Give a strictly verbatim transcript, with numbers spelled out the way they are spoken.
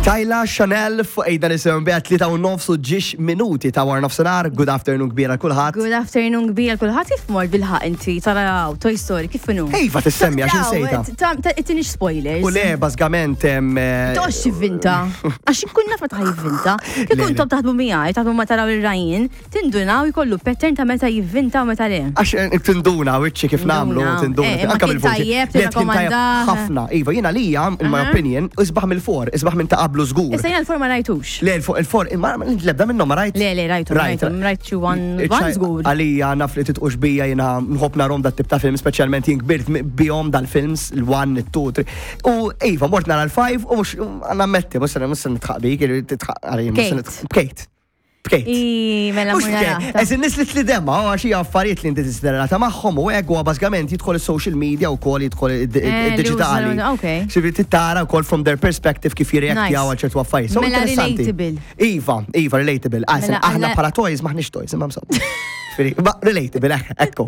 Tyla Chanel fuq ejda nisimgħu biha tlieta u nofs u ġiex minuti ta' wara nofsinhar. Good afternoon kbira kulħadd. Good afternoon kbira kulħadd. Kif mort bil-ħaq inti taraw Toy Story, kif inhu? Ejva, tissemmi għax insejta. Ittinix spoilers. U le, bażikament em, eh, Toqgħodx tivvinta. Għax inkun naf meta jivvinta. Kif Le, le. intom taħdmu miegħi, taħdmu ma taraw ir-Ryan, tindunaw jkollu pattern ta' meta jivvinta u meta le. Għax eh, tinduna, wiċċi kif nagħmlu, Tinduna. tinduna. Eh, imma Anka kien bil-vuċi. tajjeb, Le, kien tajjeb tirrakkomandah. ħafna. Iva, jiena lija, in my Aha. opinion, isbaħ mill-four, isbaħ minn ta' qablu żgur. Issa jiena l-four ma rajtux. Le, il-four, il-four, imma l-ebda minnhom ma rajt. Le, le, rajtu, rajtu, rajt xi one, one żgur. Għalija naf li titqux bija, jiena nħobb narahom dat tip ta' film, speċjalment jien kbirt bihom dal-films, il-one, il-two, three. U iva, mort nara l-five u mhux nammetti, mhux mhux nidħaq bik, titħaq għalija, mhux Kate. Bkejt. Bkejt. I, mela Mhux mur bkejt, nara. eżin nis li tlidemma, għax hija affarijiet li inti tisderata magħhom u hekk huwa bażikament jidħol is-social media u kol jidħol Eh, li id-diġitali. użaw- ok. Xivi tittara wkoll from their perspective kif jirreaktjaw Nice. għal ċertu affarijiet. So Mela interessanti. relatable. Iva, iva, relatable. Għasen, Mela, aħna aħna- bħala toys maħniex toys, imma msab. Ma relatable, eh, ekku.